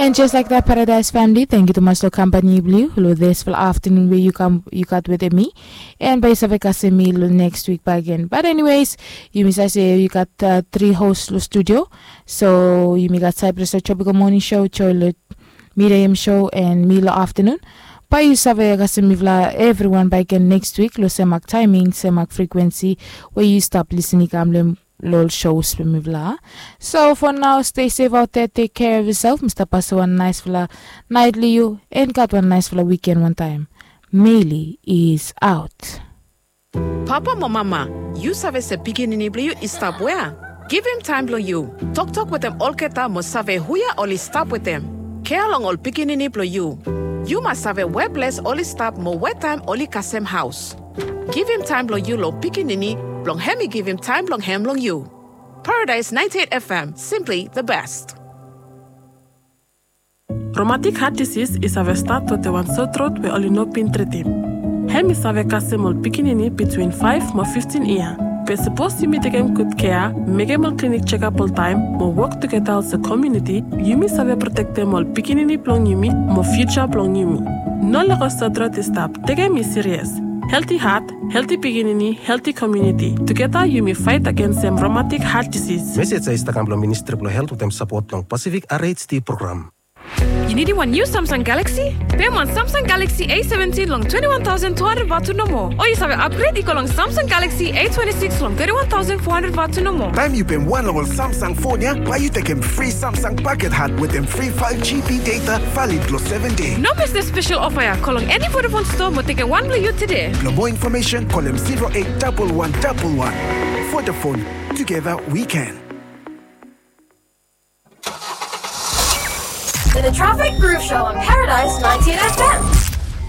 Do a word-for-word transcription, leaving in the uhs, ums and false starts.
And just like that, Paradise family, thank you tumas long kampani blong yu long dispela afternoon we yu kam yu gat wetem mi. And bae yu save kasem mi long next week bakegen. But anyways, yumi save se yu gat uh, three host long studio. So yumi gat Cyprus long Tropical Morning Show, Joy long Miriam Show, and mi long afternoon. Bae yu save kasem mifala everyone bakegen next week long semak timing, semak frequency we yu stap listening kam long long shows blong mifala. So for now, stay safe out there, take care of yourself. Mi stap pasem wan naisfala nait long yu, and gat wan naisfala weekend wantaem. Meli is out. Papa mo mama, yu save se pikinini blong yu i stap wea? Givim taem blong yu. Toktok wetem olgeta mo save hu ya oli stap wetem. Kea long ol pikinini blong yu. Yu mas save we ples oli stap mo we taem oli kasem haos. Givim taem blong yu long pikinini blong hem i givim taem blong hem long yu. Paradise ninety-eight F M, simply the best. Romatik hat disis i save stat wetem wan sotrot we oli no bin tritim. Hem i save kasem ol pikinini bitwin faef mo fiftin yia. Be sapos yumi tekem gud kea, mekem ol klinik jekap oltaem, mo wok tugeta olsem komuniti, yumi save protektem ol pikinini blong yumi mo fiuja blong yumi. No lego sotrot i stap, tekem i sirias. Helti hat, helti pikinini, helti komuniti. Tugeta yumi faet agensem romatik hat disis. Mesej ya i stap kam long Ministri blong Helt wetem sapot blong Pasifik R H D program. Yu nidim wan niu Samsung Galaxy? Pem wan Samsung Galaxy A seventeen long twenty-one thousand two hundred vatu nomo. O yu save upgrade i go long Samsung Galaxy A twenty-six long thirty-one thousand four hundred vatu nomo. Taem yu pem wan long ol Samsung fon ya, bae yu tekem fri Samsung paket hat wetem fri five G B data valid long seven dei. No mes dispela spesel ofa ya. Go long eni Vodafone stoa mo tekem wan blong yu tede. Blong moa infomesen, kolem zero eight double one double one. Vodafone, together we can. The Traffic Groove Show on Paradise ninety-eight F M.